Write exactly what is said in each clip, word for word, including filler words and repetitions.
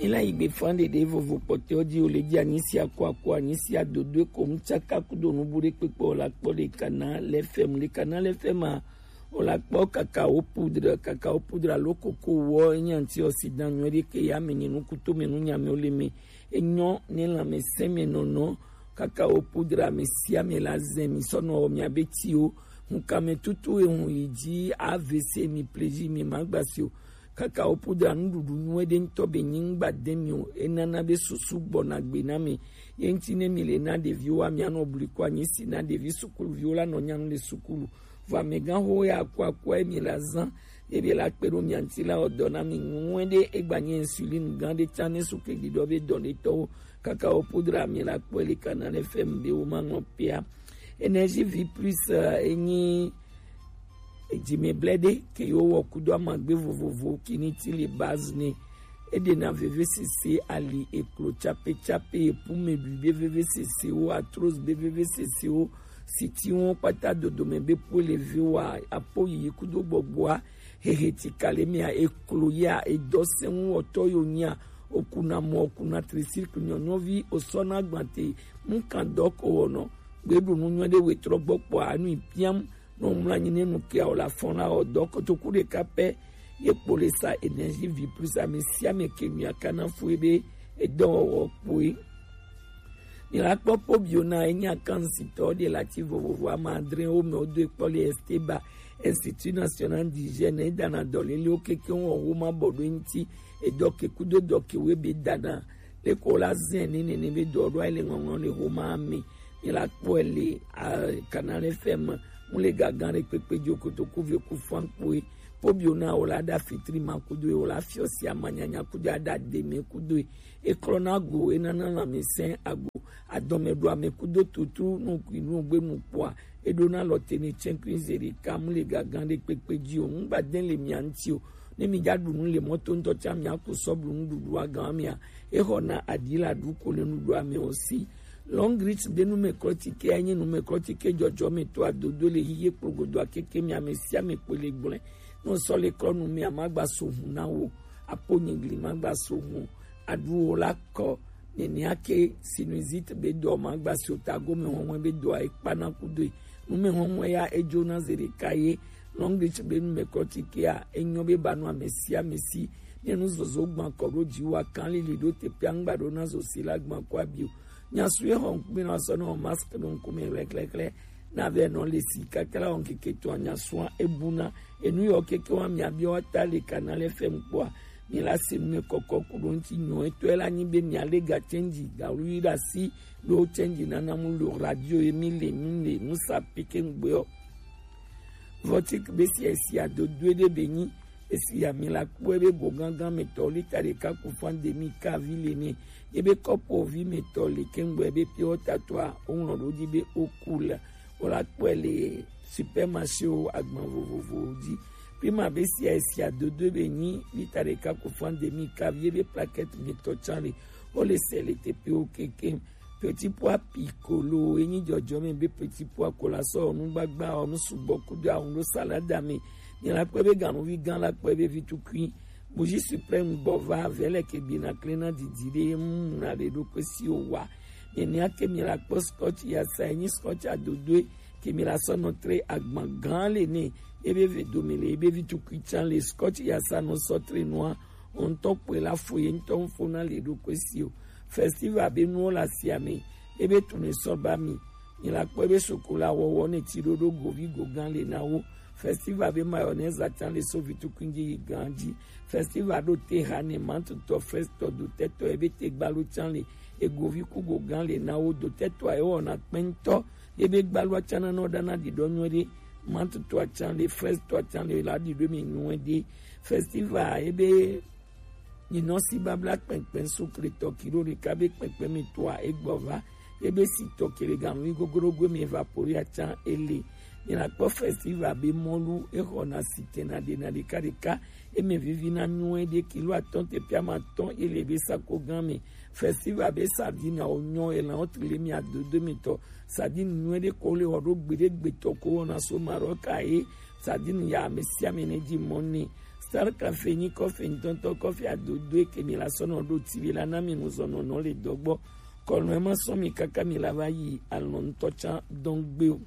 Ela yi gbe fan ɖeɖe vovo kpɔtɔ ji o le ji anyi sia ko ako anyi sia dodo ko mu tsaka kudo nubu ɖe kpekpe o la kpɔ le kana le fɛm le kana le fɛm a o la kpɔ kakao poudre kakao poudre alo koko wɔ enye antioxydant nyuie ɖe ke ya me nyi nukuto me nunyame o le me enyɔ ne lãmesẽ me nɔnɔ kakao poudre ame sia ame la zɛ mi sɔ nɔ wɔ mia be ti o ŋkame tutu ehun yi ji avc mi plezi mi ma gba si o kakao poudre nuɖuɖu nyuie ɖe ŋutɔ be nyi ŋgba de mi o enana be susu gbɔna gbe na mi ye ŋuti ne mi le na ɖeviwo wa mia nɔ bli ko anyi si na ɖevi sukuluviwo la nɔ nyanu le sukulu vɔ amegã ho ya ku akua mi la zã ebe la kpe ɖo mia ŋuti la wɔ dɔ na mi nyuie ɖe egba nye insuline gã ɖe tsã ne su ke ɖiɖɔ be dɔ ɖe tɔwo kakao poudre mi la kpɔe le kana le fɛm be wo ma ŋɔ pia. Energie vie plus eh, enyi edzime blɛ ɖe ke yo wɔ kudo amagbe vovovo kini ti le base ne eɖena vevesese ali eklo tsapetsape epume ɖui be vevesesewo arthrose be vevesesewo sitiwo kpata dodome be po le ve wa apo yiyi kudo gbɔgbɔa hehe ti kale mia eklo ya edɔ sɛŋu wɔtɔ yo nyia okuna mɔ okuna tricycle nyɔnyɔvi osɔna gbante ŋkan dɔ ko wɔnɔ gbeɖu nu nyuie ɖe wetrɔ gbɔ kpɔ anu piam nɔ mla nyi ne nu kia o la fɔn la o dɔ kotoku ɖeka pɛ ye kpo le sa energie vie plus ame sia ame ke nua kana fu ebe edɔwɔwɔ kpoe. Mi la kpɔ kpɔ bio na enye akansitɔ ɖe la ti vovovo ame adre wo me wodo ekpɔ le Esteba Institut National d'Hygiène edana dɔlelewo keke wɔ wo ma bɔ ɖo ŋuti edɔ ke kudo dɔ ke wo ebe dana leko la zɛn ne nene be dɔ ɖo ayi le ŋɔŋlɔ le wo ma me mi la kpɔe le Canal F M mu le gagan ɖe kpekpe dzo kotoku ve ku fan kpoe kpɔ bio na wo la ɖa fitri ma kudo wo la fiɔ si amanyanya kudo aɖa deme kudo eklɔna go enana lãmesẽ ago adɔmeɖoame kudo tutu nukui nugbenu kpɔa eɖona lɔ te ne tsɛnkui zeri kam le gagan ɖe kpekpe dzi o ŋgba de le mia ŋuti o ne mi dza ɖu nu le mɔto ŋutɔ tsã mia ku sɔ blu nuɖuɖua gan mia exɔna aɖi la ɖu ko le nuɖuame o si. Long Reach be numɛklɔtike enye numɛklɔtike dzɔdzɔmetɔ adodo le hiye kplogodo akeke mia me sia me kpɔe le gblẽ ne sɔ le klɔ nu mia magba so hu na wo apo nyigli magba so hu aɖuwo la kɔ nenia ke sinusite be dɔ ma gba si o ta gome hɔnhɔn be dɔa ekpana kudoe nume hɔnhɔn ya edzo na ze ɖeka ye Long Beach be nume kɔtikea enyɔ be ba nu ame sia ame si ne nu zozo gban kɔ ɖo dzi wa kan lili ɖo teƒe angba ɖo na zo si la gban kɔ abi o nyasu ye hɔn kpe na sɔ na mask ɖo ŋkume hlɛhlɛhlɛ na vɛ nɔ le si kakla wɔn keke to anyasua ebuna enu yɔ keke wa mia bi wa ta le kana le fɛm kpɔa mi la se nu kɔkɔ ku ɖo ŋuti nyɔ etɔ la nyi be mia le ga change ga lu yi ɖa si ɖo change nana mu lo radio ye mi le mi le nu sa peke ŋgbe ɔ. Vɔtik be si esi adodo ɖe be nyi esi ami la kpɔe be go gangan me tɔ lita ɖeka ku fan demi ka vi le ne ye be kɔpo vi me tɔ le kengbe be pure water tɔa o ŋlɔ ɖo dzi be o ku le o la kpɔe le supermarché wo agban vovovowo dzi. Prima be sia esia dodo be nyi lita ɖeka ku fan demi ka vie be plaquette mi tɔ tsan le o le se le teƒewo kekem. Petit pois piccolo enyi dzɔdzɔme be petit pois kola sɔ nugbagba ɔ nu sugbɔ kudo ahun ɖo salada me. Mi la kpɔe be ganuvi gã la kpɔe be vitukui Bougie suprême gbɔ va vɛlɛ ke gbina klena didi ɖe mu na ɖe ɖo kpe si o wa. Nenia ke mi la kpɔ scotch ya sa enyi scotch adodoe ke mi la sɔ nɔ tre agban gã le ne ebe ve do mi le ebe vi tukui tsan le scotch ya sa nɔ sɔ tre nua o ŋutɔ kpɔe la fo ye ŋutɔ ŋfo na le ɖo kpe si o. Festival be nuwo la sia me ebe tun ne sɔ ba mi. Mi la kpɔe be sokola wɔwɔ ne ti ɖo ɖo govi go gã le na wo. Festival be mayonnaise atsan le so vitukui dzi yi gan dzi. Festival ɖo te ha ne mantutɔ festɔ dotɛtɔ ebe te gbalo tsan le egovi ku go gã le na wo dotɛtɔ a ewɔ na kpɛntɔ ebe gbalo atsan na nɔ ɖana ɖiɖɔ nyuie ɖe mantutɔ atsan le festɔ atsan le la ɖiɖɔ mi nyuie ɖe. Festival ebe nyinɔ si babla kpɛnkpɛn sukle tɔ kilo ɖeka be kpɛnkpɛn mi toa egbɔ va ebe si tɔ kele gaŋui goglogoe mi evapori atsan ele. Mi la kpɔ festival be mɔlu exɔna si tena ɖena ɖeka ɖeka eme vivi na nyuie ɖe kilo atɔn te pia ma tɔn ele be sako gã me. Festival be sardine awo nyɔ elan wo trile mi adodo mi tɔ sardine nyuie ɖe ko le wɔ ɖo gbe ɖe gbe tɔ ko wɔna so Maroc aye sardine ya ame sia ame ne dzi mɔ ne. Sarka fe nyi kɔfe ŋutɔŋutɔ kɔfe adodoe ke mi la sɔ nɔ ɖo ti be la na mi nuzɔnɔnɔ le dɔgbɔ. Kɔnɔe ma sɔ mi kaka mi la va yi alɔ ŋutɔ tsa dɔn gbe o.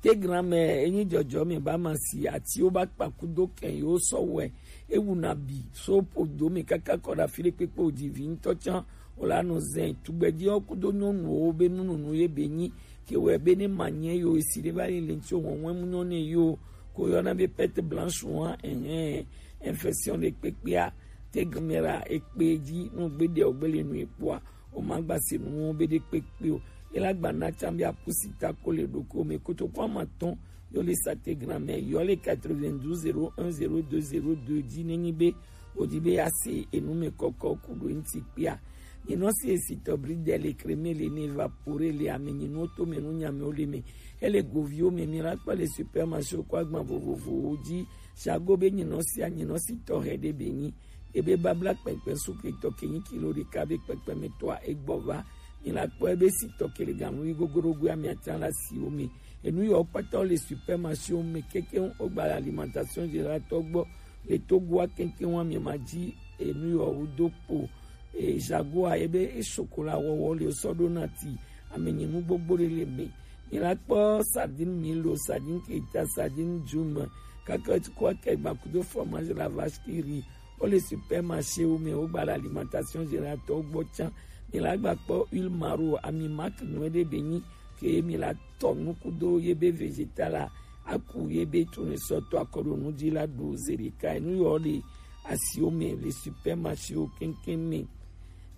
Te gramɛ enyi jɔjɔ mi ba ma si atiwo ba kpaku do kɛn yo sɔ wɛ ewu na bi so po do mi kaka kɔ ɖa fi ɖe kpekpe o di vi ŋutɔ tsa o la nɔ zɛn tugbɛdiwo kudo nyɔnuwo be nununu ye be nyi ke wɛ be ne ma nyɛ yo esi ɖe va yi le ŋuti o wɔn wɛ mu nyɔ ne yo ko yɔna be perte blanche wa ɛhɛn infection ɖe kpekpea te gmera ekpe dzi nu gbe ɖe o gbe le nu ekpoa o ma gba se nu be ɖe kpekpe o. Ela gba na tsa be akusi ta ko le ɖoko me kotoko ama tɔn yo le sa te gramɛ yo le quatre-vingt-douze zéro un zéro deux zéro deux dzi ne nyi be o di be ya se enu me kɔkɔ ku ɖo ŋuti kpea. Nyinɔ si esi tɔ bridel le crème le ne évapore le ame nyinuwo to me nu nyame wo le me. Ele goviwo me mi la kpɔ le supermarché ko agban vovovowo dzi. Shago be nyinɔ sia nyinɔ si tɔ hɛ ɖe be nyi. Ebe babla kpɛkpɛ sukli tɔ ke nyi kilo ɖeka be kpɛkpɛ me tɔa egbɔ va. Mi la kpɔ ebe si tɔ ke le ganu yi gogoro goe ami atan la si wo me. Enu yɔ kpata wo le supermarché wo me keke wo gba alimentation générale tɔ gbɔ. Le Togoa keke wo ami ma dzi enu yɔ wo do po. E, jagoa ebe e chocolat wɔwɔ le sɔ ɖo na ti ame nyi nu gbogbo ɖe le me. Mi la kpɔ sardine milo, sardine keta, sardine djum, kaka ti kɔ ke gba kudo fromage la vache qui rit. Wo le supermarché wo me wo gba la alimentation générale tɔ gbɔ tsa. Mi la gba kpɔ huile maro ami marque nyuie ɖe be nyi ke mi la tɔ nu kudo ye be végétal la aku ye be tournesol tɔ akɔ ɖo nu dzi la ɖu ze ɖeka enu yɔ le asiwo me le supermarché wo keŋkeŋ me.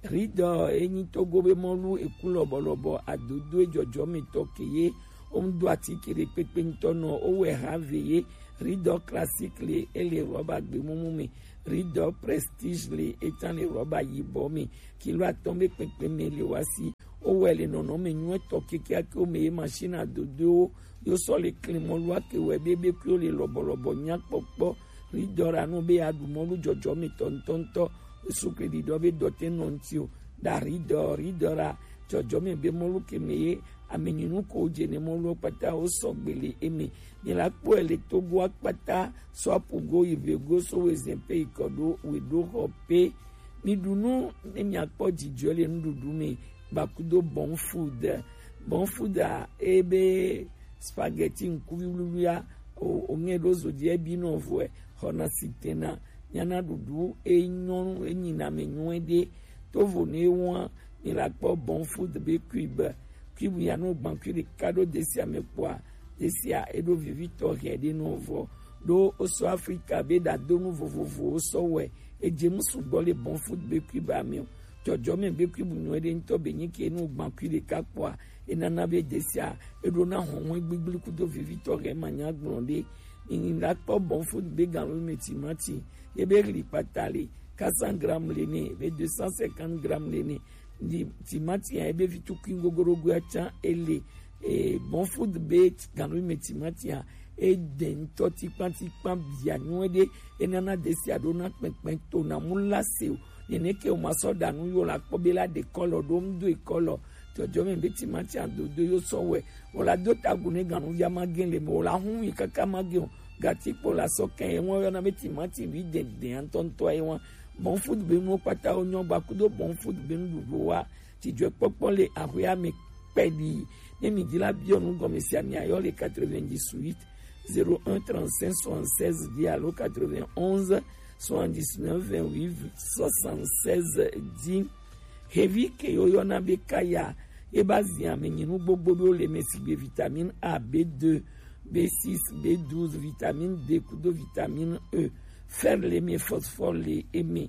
Ridɔ enyi Togo be mɔlu eku lɔbɔlɔbɔ adodo ejɔjɔmetɔ ke ye wo ŋu do atike ɖe kpekpe ŋutɔ nɔ wo wɛ ha ve ye. Ridɔ classique le ele rɔba gbemumu me. Ridɔ prestige le etan le rɔba yibɔ me. Kilo atɔn be kpekpe me le wa si. Wo wɛ le nɔnɔme nyuietɔ kekeake wo me ye machine adodoewo yo sɔ le klin mɔlu ake wɛ be be kuiwo le lɔbɔlɔbɔ nyakpɔkpɔ. Ridɔ ra nu be ya ɖu mɔlu jɔjɔmetɔ ŋutɔŋutɔ. Sukli ɖiɖɔ be dɔ te nɔ ŋuti o. Ɖa ridɔ ridɔ ra jɔjɔme be mɔlu ke me ye ame nyinu ko dze ne mɔlu kpata wo sɔgbe le eme. Mi la kpɔe le Togo akpata sɔ apugo yi vego so wezɛn pe yi kɔ ɖo we ɖo xɔ pe. Mi ɖu nu ne mi akpɔ dzidzɔ le nuɖuɖu me gbakudo bon food. Bon food a ebe spaghetti ŋkuvi wluwlua o ŋɛ ɖo zo dzi ebi nɔ vɔe xɔna sitena nyana ɖuɖu enyɔ enyina me nyuie ɖe. Tovo ne wa mi la kpɔ bon food be cube. Cube ya no gban cube ɖeka ɖo desia me kpɔa desia eɖo vivitɔ hɛ ɖe nɔ vɔ ɖo oso Afrika be ɖadonu vovovowo sɔ wɛ edze mu sugbɔ le bon food be cube ame o. Jɔjɔme be cube nyuie ɖe ŋutɔ be nyi ke nu gban cube ɖeka kpɔa enana be desia eɖo na hɔhɔn gbigbli kudo vivitɔ hɛ ma nya gblɔ ɖe. Nini la kpɔ bon food be gan me timati ye be ɣli kpata le quatre cents grammes le ne be deux cent cinquante grammes le ne. Ni timati ya ebe vi tukui gogorogo ya tsa ele e bon food be ganu me timati ya e de ŋutɔ tikpan tikpan bia nyuie ɖe enana desia ɖo na kpɛkpɛ to na mu la se o. Nene ke o ma sɔ ɖa nu yo la kpɔ be la ɖe kɔlɔ ɖo ŋu do ekɔlɔ jɔjɔ me be timati adodo yo sɔ wɛ o la do tagu ne ganu via ma gen le me o la hu yi kaka ma gen o gati kpo la sɔ kɛ e ŋu yɔna be timati vi dɛndɛn ŋutɔŋutɔ ye ŋu. Bon food be nuwo kpata wo nyɔ gba kudo bon food be nuɖuɖu wa. Dzidzɔkpɔkpɔ le axɔa me kpɛɖi. Ne mi di la biɔ nu gɔme sia mi ayɔ le quatre-vingt-dix-huit zéro un trente-cinq soixante-seize dix alo quatre-vingt-onze soixante-dix-neuf vingt-huit soixante-seize dix. Xevi ke yo yɔna be kaya e ba zia me nyinu gbogbo ɖo le me sigbe vitamine A, B deux, B six, B douze, vitamine D kudo vitamine E. Fer le me, phosphore le eme.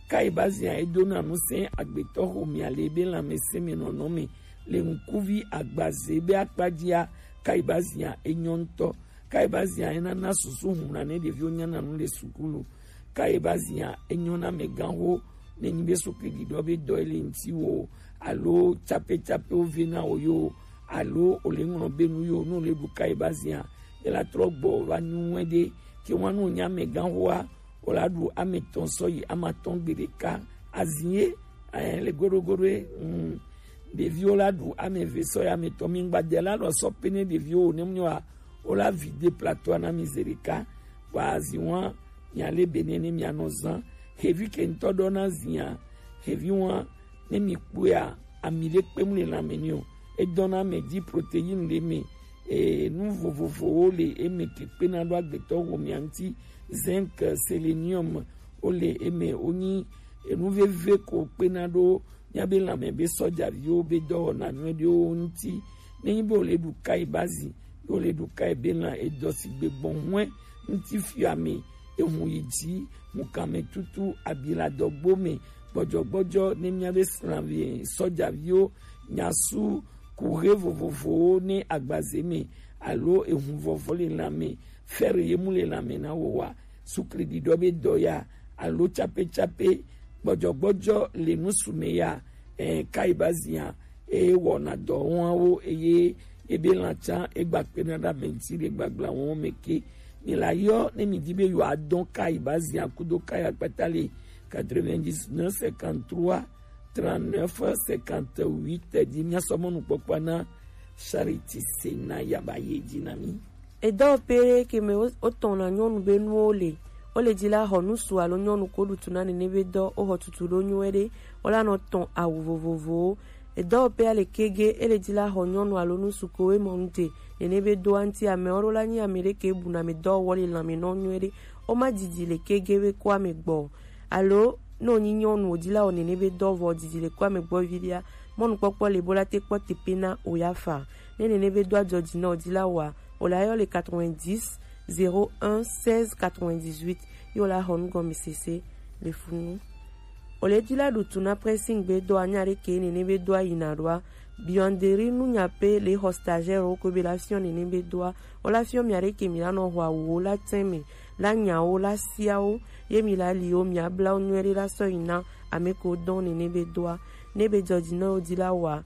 Kai ba zia e dona nu sɛn agbetɔ xomea le be lanmɛsɛn me nɔnɔ me le ŋkuvi agbaze be akpadzia. Kai ba zia e nyɔ ŋutɔ. Kai ba zia e nana susu huna ne ɖeviwo nyana nu le sukulu. Kai ba zia e nyɔ na amɛganxo ne nyi be sukli ɖiɖɔ be dɔ e le ŋti wo alo capecapeo ve na wo yo alo o le ŋlɔ be nu yo nu le ɖu kai ba zia e la trɔ gbɔ va nyuie ɖe ke wa nu nya amɛganxoa o la ɖu ame tɔn sɔ yi ame atɔn gbe ɖeka. Azi ye eh, le goɖogoɖo ye mm, ɖeviwo la ɖu ame eve sɔ yi ame tɔn mi ŋgba de la ɖɔ sɔ pe ne ɖeviwo o ne mu nyɔ wa o la vide plateau na mi ze ɖeka. Kpa azi wa Mia le be nene mia nɔ zan. Xevi ke ŋutɔ ɖɔ na zia. Xevi wa ne mi kpɔa, ami ɖe kpe mu le lãme ni o. Edɔna mɛ dzi protéine le me. E, nu vovovowo le eme ke kpena ɖo agbetɔ wo mia ŋuti. Zinc, sélénium, wo le eme. Wonyi enu veve ko kpena ɖo míabe lãme be sɔjaviwo be dɔwɔna nyuiɖewo ŋuti. Nenyi be wole ɖu kai bazi, be wole ɖu kai be lã edɔ si gbe gbɔn hwɛ ŋuti fiame, ehun yi dzi, mukanmetutu, abiladɔgbo me, gbɔdzɔgbɔdzɔ ne míabe srãvi sɔjaviwo nyasu kuxe vovovowo ne agbaze me alo ehun vɔvɔ le lãme, fɛre ye mu le lãme na wo wa, sukli ɖiɖɔ be dɔ ya alo tsapetsape gbɔdzɔgbɔdzɔ le nusu me ya, eh, kai bazia, eye wɔna dɔ wɔawo, eye ebe lãtsa egba kpena ɖe ame ŋuti le gbagblã wɔn me ke. Mi la yɔ ne mi di be yewoa dɔn kai bazia kudo kai akpata le quatre-vingt-dix-neuf cinquante-trois trente-neuf cinquante-huit dzi. Mia sɔ mɔnukpɔkpɔ na Charity Sena yaba ye dzi na mi. Edɔwɔƒe ɖe ke me wo-, wotɔna nyɔnu be nuwo le. Wole dzi la xɔ ŋutsu alo nyɔnu ko ɖu tu na nene be dɔ, woxɔ tutu ɖo nyuie ɖe, wola nɔ tɔn awu vovovowo. Edɔwɔƒea le kege, ele dzi la xɔ nyɔnu alo ŋutsu ko we mɔ ŋute nene be doa ŋuti. Amewo ɖo la nyi ame ɖe ke bu na ame dɔwɔwɔ le lãme nɔ nyuie ɖe. Woma didi le kege be ko ame gbɔ. Alo ne wonyi nyɔnu wòdi la wɔ nene be dɔ vɔ didi le ko ame gbɔ vi ɖea, mɔnukpɔkpɔ le bo la te kpɔ teƒe na o ya fa. Ne nene be dɔa dzɔ dzi na wòdi la wɔa, wòle ayɔ le quatre-vingt-dix zéro un seize quatre-vingt-dix-huit, ye wòle axɔ nugɔmesese le funu. Wòle dzi la ɖu tu na pressing gbe dɔa nya ɖe ke nene be dɔa yina ɖoa, buanderie nu nya pe le xɔ stagiaire wo ko be la fiɔ nene be dɔa, wòle afiɔ mia ɖe ke mi la nɔ xɔ awuwo la tɛn me, la nyawo, la siawo, ye mi la liwo, mia blawo nyuie ɖe la sɔ yi na ame ko dɔn nene be dɔa. Ne be dzɔ dzi na wòdi la wɔa,